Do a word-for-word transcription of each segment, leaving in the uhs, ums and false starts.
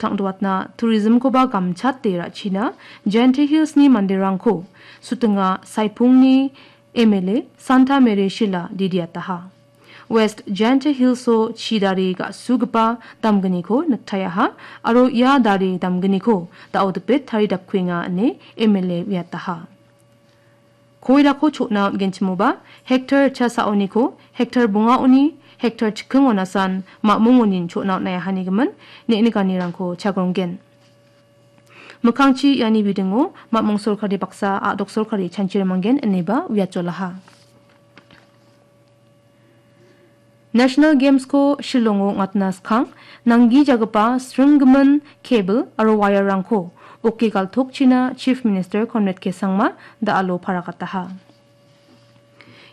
tangdoatna tourism-koba gamchate ra·china Jaintia Hills-ni manderangko Sutinga Saipungni M L A Santa Mary Shila didiataha. West Jaintia Hills-o chi dare ga·sugipa damgniko niktaiaha aro ia dare damgniko da·o dipet taridapkuenga ine M L A uiataha. Koirako chotna on·genchimoba, hektar chasaoniko, hektar bongaoni, hektar chikingonasan ma·mongonin chotna on·aiahanigimin ne·nikanirangko chagronggen. Mikkangchi iani bidingo ma·mong sorkari baksa a·dok sorkari chanchirimanggen ineba uiatjolaha. National Games-ko Shillongo ong·atna skang, nanggijagipa sringgimin cable aro wire-rangko oke galtokchina Chief Minister Conrad K Sangma da·alo paragataha.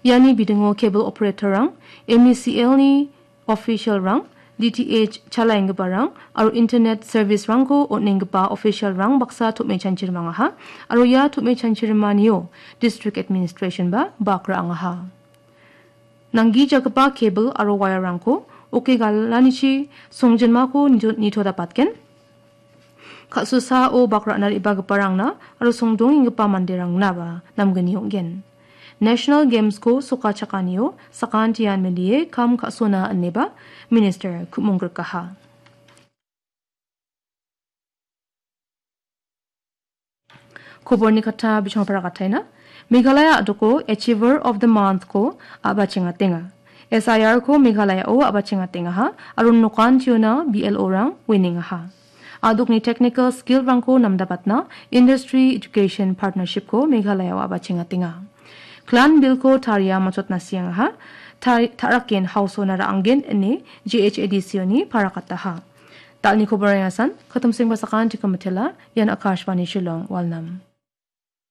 Iani bidingo cable operator-rang, M E C L-ni official-rang, D T H chalaenggiparang aro internet service-rangko on·enggipa official-rang baksa tom·e chanchirimangaha aro ia tom·e chanchirimanio district administration-ba bakra angaha. Nanggijagipa cable aro wire-rangko oke galanichi songjinmako nito-, nitodapatgen. Ka·sosao bak ra·na re·bagiparangna aro songdongenggipa manderangnaba namgni ong·gen. National Games-ko sokachakanio sakantian melie kam ka·sona ineba Minister ku·monggrikaha. Koborni kata bichongpara kataina. Meghalaya a·doko Achiever of the Month-ko a·bachengatenga. S I R-ko Meghalayao a·bachengatengaha aro nokantiona B L O-rang uinengaha. A·dokni technical skill-rangko namdabatna Industry Education Partnership-ko Meghalayao a·bachengatenga. Clan Bill-ko taria matchotna siangaha, ta-, ta·raken hausona ra·anggen ine G H A D C-oni parakataha. Dalni koborang asan, katumseng basakan tikam matela, ian Akashvani Shillong, Walnam.